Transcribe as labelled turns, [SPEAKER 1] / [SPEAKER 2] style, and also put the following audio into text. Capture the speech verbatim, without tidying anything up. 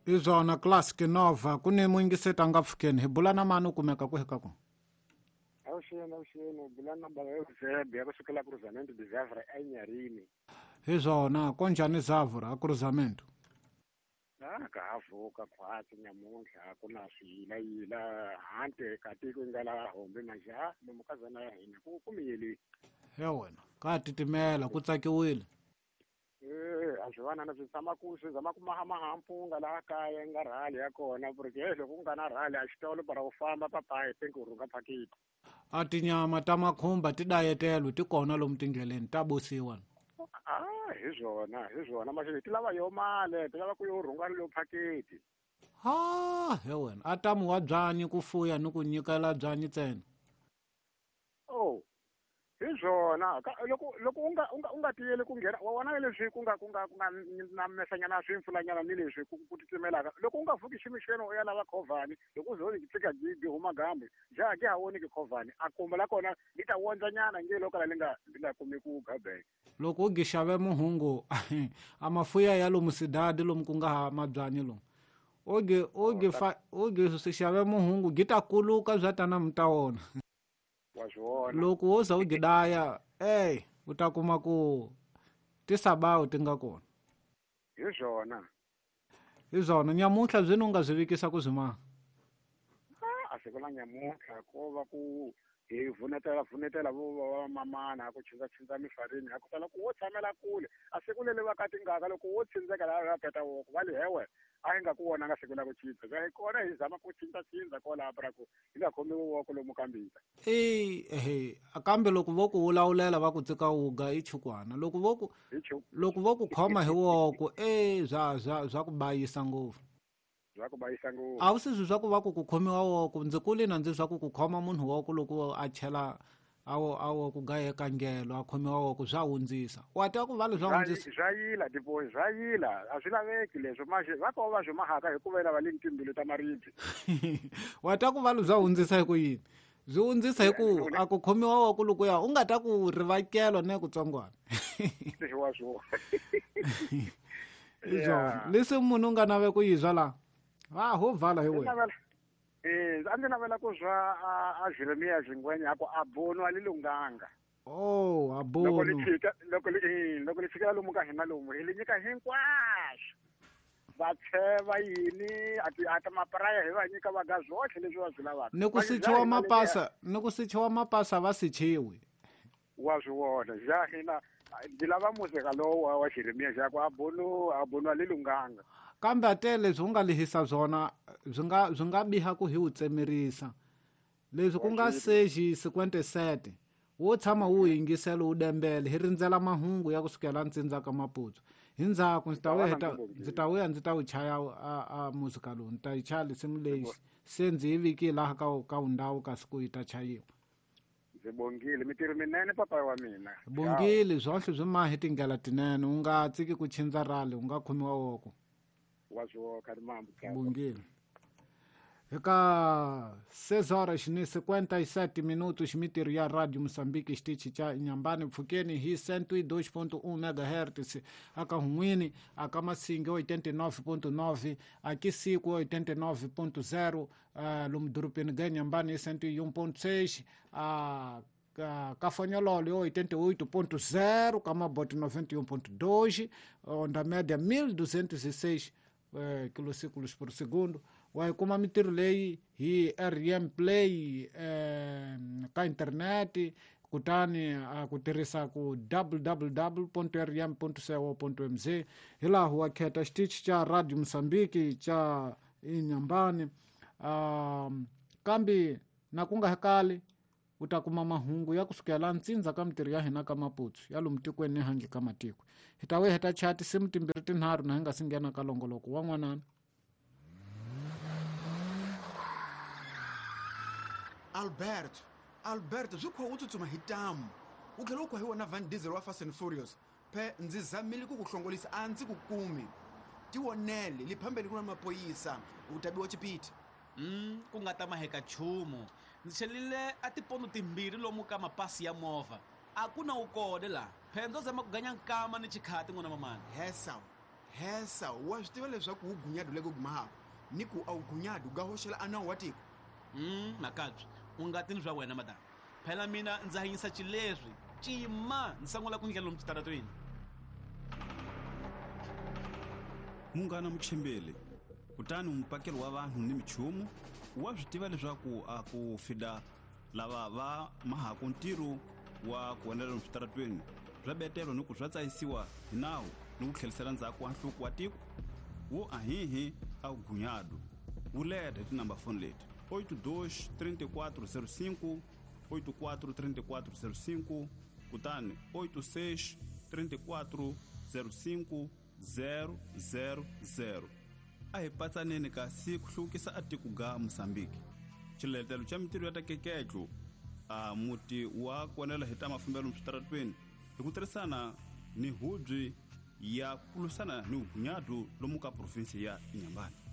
[SPEAKER 1] Hi swona Classic Nova ku ni muyingiseti a nga pfukeni hi bula na mani u kumeka kwihi ka kona?
[SPEAKER 2] Avuxeni, avuxeni, bula na baba Eusebio ya kusukela Cruzamento de Zavra eNyarini.
[SPEAKER 1] Hi swona konjhani Zavra a Cruzamento?
[SPEAKER 2] Ah, ka ha vuka khwatsi nyamuntlha ku na swiyilayila handle ka tiko yi nga la hombe manje ha lomu ka zana ya hina ku ku miyeli.
[SPEAKER 1] He wena ka titimela ku tsakiwile.
[SPEAKER 2] Eh, a swi vana na swi tshama ku swi zama ku mahamaha mpunga laha kaya yi nga rhali ya kona ku ri ke loko ku nga na rhali a xitolo para u famba papayi think u rhunga phakiti.
[SPEAKER 1] A tinyama ta makhumba ti dayetelwe ti kona lomu tindleleni ta bosiwa.
[SPEAKER 2] Ah, hi swona, hi swona manje ti lava yo mali, ti lava ku yo rhunga lo phakiti.
[SPEAKER 1] Ha, he wena a tamu wa byanyi ku fuya ni ku nyikela byanyi ntsena.
[SPEAKER 2] Oh, hi swona loko loko u nga u nga u nga tiyeli ku nghena wa vona leswi ku nga ku nga ku nga na mesanyana swimpfulanyana ni leswi ku ku titimelaka loko u nga vuki ximixweni u ya lava khovhani loko u zo ni fika gi huma gambe ja ke ha woni ke khovhani a kuma la kona li ta wondzanyana nge loko la li nga li nga kumi ku gabeka.
[SPEAKER 1] Loko u gixave muhungu a mafuya ya lomu sidadi lomu ku nga ha mabyanyi lomu oge oge fa oge swi xave muhungu gi ta kuluka bya tana mi ta wona. Loko wo za u gidaya ey u ta kuma ku tisabawu ti nga kona.
[SPEAKER 2] Hi swona.
[SPEAKER 1] Hi swona nyamuntlha byi u nga byi vikisa ku byi maha?
[SPEAKER 2] A siku la nyamuntlha ko va ku hi vunetela vunetela vo va mamana ku chindza chindza mifarini a ku tala ku wo tshamela kule a siku leli va ka tingaka loko wo tsindzeka laha va peta woko va li hewe a hi nga ku vona nga siku la ku chindza hi kona hi zama ku chindza chindza kwalaha pra ku hi nga khomiwi woko lomu ka mbita.
[SPEAKER 1] E ehe kambe loko vo ku wulawulela va ku tsika wuga i chukwana loko vo ku loko vo ku khoma hi woko e bya bya bya ku bayisa ngopfu.
[SPEAKER 2] Bya ku bayisa ngopfu.
[SPEAKER 1] A wu swi swa ku va ku ku khomiwa woko ndzi kule na ndzi swa ku ku khoma munhu woko loko a chela awo awo ku gayeka ngelo a khomiwa woko swa hundzisa wa tiva ku va leswi swa hundzisa
[SPEAKER 2] swa yila tipo swa yila a swi laveki leswo manje va ko va swi mahaka hikuva lava le timbilu ta maribye.
[SPEAKER 1] Wa tiva ku va leswi swa hundzisa hi ku yini? Byi hundzisa hi ku a ku khomiwa woko loko ya u nga ta ku rivakelo ne kutsongwana.
[SPEAKER 2] Wa swona.
[SPEAKER 1] Izona leswi munhu u nga nave ku yizwa la va ho vala hi wena.
[SPEAKER 2] Eh, a ndzi navela ku zwa a Jeremia Zingwenya ku a bono a li lunganga.
[SPEAKER 1] Oh, a bono.
[SPEAKER 2] Loko li fika loko li loko li fika lomu ka hina lomu hi li nyika hinkwaswo. Va tsheva yini a ti a ta mapraya hi va nyika va ga zwohle leswi va swi lavaka.
[SPEAKER 1] Ni ku sichiwa mapasa, ni ku sichiwa mapasa va sichiwi.
[SPEAKER 2] Wa swi vona, ja hina ndzi lava muzika lowu wa Jeremia ja ku a bono a bono a li lunganga.
[SPEAKER 1] Kambe a tele leswi u nga lehisa byona byi nga byi nga biha ku hi wu tsemerisa leswi ku nga seji cinquante sete wo tshama wu yingisela wu dembele hi rindzela mahungu ya kusukela ntsindza ka Maputo hi ndzhaku ndzi ta vuya ndzi ta vuya ndzi ta wu chaya a a muzika lowu ndzi ta yi chaya lisimu leyi se ndzi yi vikile laha ka ka ndhawu kasi ku yi ta chayiwa.
[SPEAKER 2] Ndzi bongile mitirho minene papa wa mina.
[SPEAKER 1] Bongile zwohle byi mahi tindlela tinene u nga tsiki ku chindza rali u nga khomiwa woko. Bongile. Eka seis horas ni cinquenta e sete minutos mitirho ya Radio Moçambique xitichi xa Inhambane pfukeni hi cento e dois ponto um megahertz aka Hunwini aka Masinge oitenta e nove ponto nove aqui Sico oitenta e nove ponto zero uh, lomu dorobeni ga Inhambane cento e um ponto seis a uh, Cafanyololo oitenta e oito ponto zero Camabote noventa e um ponto dois onda média mil duzentos e seis eh, quilociclos por segundo. Wa kuma mitirho leyi hi R M Play eh, ka internet kutani a ku tirhisa ku w w w ponto r m ponto co ponto m z hilaha wa khetha xitichi xa Radio Moçambique xa Inhambane. Um, kambe na ku nga hakali u ta kuma mahungu ya kusukela ntsindza ka mitirho ya hina ka Maputo ya lomu tikweni ni handle ka matiko. Hi ta vuya hi ta chaya tinsimu timbirhi tinharhu na hi nga si nghena ka longoloko wa n'wanana.
[SPEAKER 3] Alberto, Alberto, swi kha u tsutsuma hi tamu. U tlhela u khwa hi wona Van Diesel wa Fast and Furious. Phe ndzi zamile ku ku hlongolisa a ndzi ku kumi. Tivonele li phambeni ku na mapoyisa u ta biwa chipiti.
[SPEAKER 4] Mm, ku nga ta maheka nchumu. Ndzi chelile a tipondo timbirhi lomu ka mapasi ya movha. A ku na wu kona la. Phe ndzo zama ku ganya nkama ni chikhati n'wana mamani.
[SPEAKER 3] Hesa. Hesa wa swi tiva leswaku wu gunyadu le ku gumahako ni ku a wu gunyadu ga hoxela a nawu wa tiko.
[SPEAKER 4] Mm, makabye u nga tini swa wena madam. Phela mina ndza hanyisa xileswi cima ndzi sungula ku ndlela lomu switaratweni.
[SPEAKER 5] Munghana Muchimbeli, kutani mupakeli wa vanhu ni michumu wa swi tiva leswaku a ku fida lava va mahaku ntirho wa ku onela lomu switaratweni swa betelo ni ku swa tsayisiwa hi nawu ni ku tlhelisela ndzhaku wa nhluko wa tiko wo ahihi a gunyadu wu leta hi tinamba foni leti oito dois trinta e quatro zero cinco oito quatro trinta e quatro zero cinco kutani oito seis trinta e quatro zero cinco zero zero zero. A hi patsaneni kasi ku hluvukisa a tiko ga Mozambique. Xiletelo xa mintirho ya ta keketlo a muti wa ku onela hi ta mafambelo switaratweni hi ku tirhisana ni hubyi ya ku lwisana ni vugunyadu lomu ka provinsi ya Inhambane.